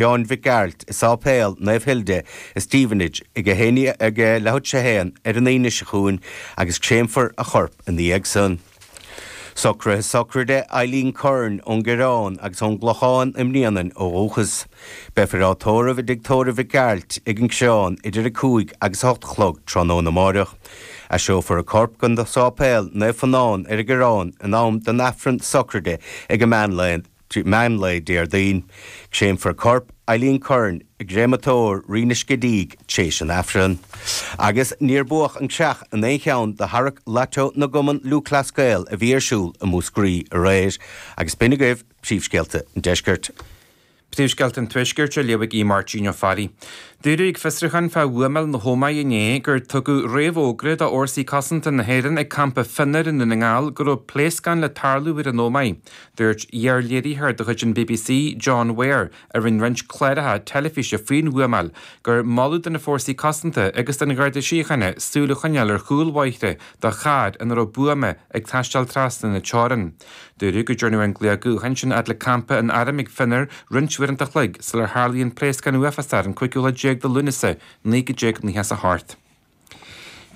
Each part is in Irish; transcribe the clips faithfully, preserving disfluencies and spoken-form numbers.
Sheáin Mhic Gearailt i Sáipéal Naomh Hilda i Stevenage ag a haon ag leathuair tar éis a haon ar an Aoine seo chugainn agus créamfar a chorp ina dhiaidh san. Socruithe sochraide Eileen Curran ón gCoireán agus ón gClochán i mBréanainn ó dhúchas. Beifear á tórramh i dtigh tórraimh Mhic Gearailt ag an Choireán idir a cúig agus a hocht a chlog tráthnóna amárach. Eiseofar a corp go Sáipéal Naomh Fionán ar an gCoireán in am don Aifreann sochraide ag an meánlae meánlae Déardaoin. Créamfar corp Eileen Curran i gcréamatóir Rí na Scidígh tar éis an Aifrinn. Agus níor buadh an creach in aon cheann de tharrac Lotto na gCumann Lúthchleas Gael a bhí ar siúl i Múscraí aréir, agus b'in agaibh príomhscéalta an deiscirt. Príomhscéalta an Tuaiscirt á léamh ag Máirtín Ó Fearraigh. Dúradh ag fiosrúchán fá bhuamáil na hÓmaí inné gur tugadh réamhfhógra do Fhórsaí Cosanta na hÉireann ag campa Finner i nDún na nGall go raibh pléascán le tarlú ar an Ómaigh. Dúirt iar-léiritheoir de chuid an BBC, John Ware, a rinne roinnt cláracha teilifíse faoin bhuamáil, gur moladh do na fórsaí cosanta agus don Gharda Síochána súil a choinneáil ar chúl bóithre do charr ina raibh buama ag taisteal trasna na teorann. Dúradh go ndearnadh an glao gutháin sin fhad le campa an airm ag Finner roinnt uaireanta an chloig sular tharlaigh an pléascán uafásach ar an cúigiú lá déag de Lúnasa naoi déag nócha a hocht.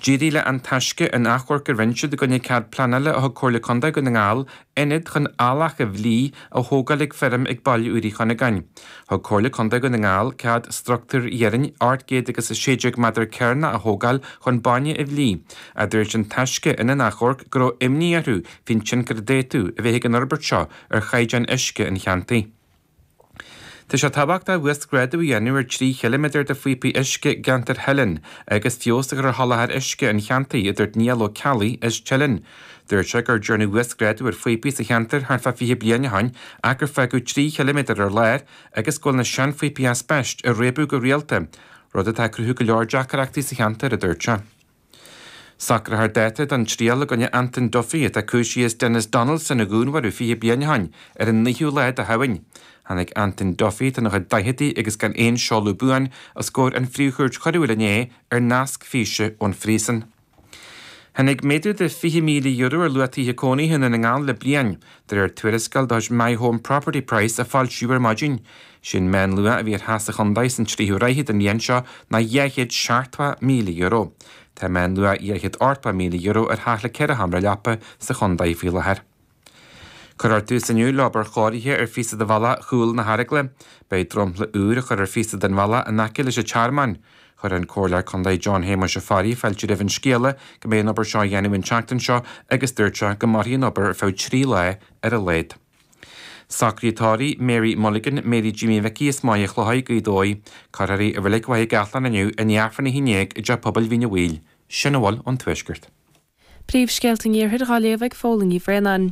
D'éirigh le An Taisce an achomharc a rinne siad i gcoinne cead pleanála a thug Comhairle Contae Dhún na nGall ionad chun eallach a bhlí a thógáil ag feirm ag Baile Úr Uí Chuinneagáin. Thug Comhairle Contae Dhún na nGall cead struchtúr iarainn ocht gcéad agus a sé déag méadar cearnach a thógáil chun bainne a bhlí, ach dúirt An Taisce ina n-achomharc go raibh imní orthu faoin tionchar a d'fhéadfadh a bheith ag an fhorbairt seo ar chaighdeán uisce an cheantair. Tá sé tábhachtach uasghrádú a dhéanamh ar trí chiliméadar de phíopaí uisce i gceantar Theilinn agus feabhas a chur ar sholáthar uisce an cheantair, a dúirt Niall Ó Ceallaigh as Teileann. Dúirt sé gur dearnadh uasghrádú ar phíopaí sa cheantar thart fá fiche bliain ó shin ach gur fágadh trí chiliméadar ar lár agus go bhfuil na seanphíopaí aispeist ag réabadh go rialta, rud atá ag cruthú go leor deacrachtaí sa cheantar, a dúirt sé. Socrófar dáta don triail i gcoinne Anton Duffy atá cúisithe as Denis Donaldson a dhúnmharú fiche bliain ó shin ar an naoú lá de Shamhain. Tháinig Anton Duffy atá ina chuid daicheadaí agus gan aon seoladh buan os comhair an Phríomh-Chúirt Choiriúil inné ar nasc físe ón phríosún. Tháinig méadú de fiche míle euro ar luach tithe cónaithe i nDún na nGall le bliain, de réir tuarascáil de chuid My Home Property Price a foilsíodh ar maidin. Sé'n meánluach a bhí ar theach sa chontae san tríú ráithe den bhliain seo ná dhá chéad seachtó míle euro. Tá meánluach dhá chéad ochtó míle euro ar theach le ceithre sheomra leapa sa chontae faoi láthair. Cuirfear tús inniu le obair chóirithe ar phíosa de bhealach chúl na hAragla. Beidh dromchla úr á chur ar phíosa den bhealach in aice leis an tearmann. Chuir an Comhairleoir Contae John Shéamuis Ó Fearraigh fáilte roimh an scéala go mbeidh an obair seo á dhéanamh an tseachtain seo agus dúirt sé go mairfidh an obair ar feadh trí lá ar a laghad. Socruithe tórraimh Mary Mulligan, Mary Jimmy Mhicí as Maigh Chlóidh, Gaoth Dobhair. Cuirfear í i Reilig Mhaigh gCathlann inniu i ndiaidh Aifreann a haon déag i dTeach Pobail Mhín a' Bhaoill. Sin a bhfuil ón Tuaisceart. Príomhscéalta an Iarthair á léamh ag Fódhla Ní Bhraonáin.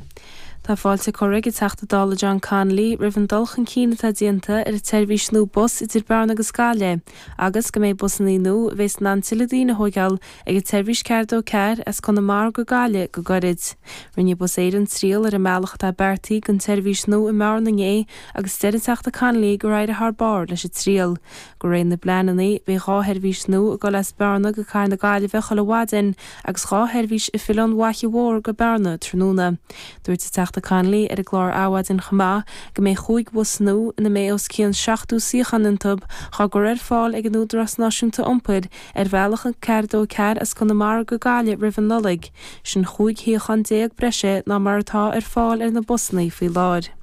Tá fáilte curtha ag an Teachta Dála John Connolly roimh an dul chun cinn atá déanta ar an tseirbhís nua bus idir Bearna agus Gaillimh agus go mbeidh busanna nua a bheas in ann tuilleadh daoine a thógáil ag an tseirbhís ceathair dó ceathair as Conamara go Gaillimh go gairid. Rinne Bus Éireann triail ar an mbealach atá beartaithe don tseirbhís nua i mBearna inné agus deir an Teachta Connolly gur éirigh thar barr leis an triail. De réir na bpleananna beidh dhá sheirbhís nua ag dul as Bearna go Cathair na Gaillimhe chuile mhaidin agus dhá sheirbhís ag filleadh ón bhFaiche Mhór go Bearna tráthnóna. Dúirt an Teachta Connolly ar an gclár Adhmhaidin chomh maith go mbeidh chúig bhus nua ina mbeidh os cionn seachtó suíochán iontu á gcur ar fáil ag an Údarás Náisiúnta Iompair ar bhealach an ceathair dó ceathair as Conamara go Gaillimh roimh an Nollaig, sin chúig shuíochán déag breise ná mar atá ar fáil ar na busanna faoi láthair.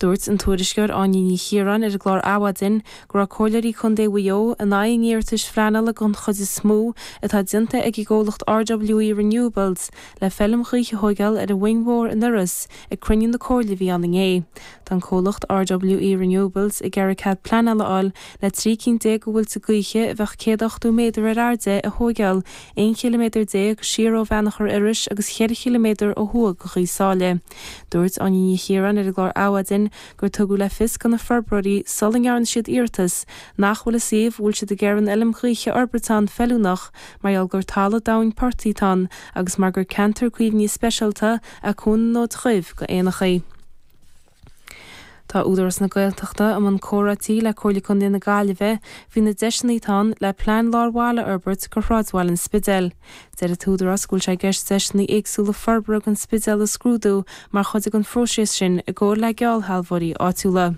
Dúirt an tuairisceoir Áine Ní Chiaráin ar an gclár Adhmhaidin go raibh comhairleoirí Contae Mhaigh Eo in aghaidh an iarratais phleanála den chuid is mó atá déanta ag an gcomhlacht RWE Renewables le feilm ghaoithe a thógáil ar an Mhuing Mhór in Iorras ag cruinniú na comhairle a bhí ann inné. Tá an comhlacht RWE Renewables ag iarraidh cead pleanála a fháil le trí cinn déag de mhuilte gaoithe a bheadh céad ochtó méadar ar airde a thógáil aon chiliméadar déag siar ó Bheannachar Iorrais agus cheithre chiliméadar ó thuaidh de Ghaoth Sáile. Dúirt Áine Ní Chiaráin ar an gclár Adhmhaidin gur tugadh le fios do na forbróirí sula ndearna siad iarratas nach bhfuil an suíomh a bhfuil siad ag iarraidh an fheilm ghaoithe a fhorbairt ann feiliúnach mar gheall gur talamh domhain portaigh atá ann agus mar gur ceantar caomhnaithe speisialta é Cuan an Fhóid Dhuibh do éanacha. Tá Údarás na Gaeltachta i mbun comhráití le Comhairle Contae na Gaillimhe faoi na deiseanna atá ann le plean lár bhaile a fhorbairt do shráidbhaile an Spidéil. Deir an tÚdarás go bhfuil sé i gceist deiseanna éagsúla forbartha don Spidéal a scrúdú mar chuid den phróiseas sin i gcomhar le geallshealbhóirí áitiúla.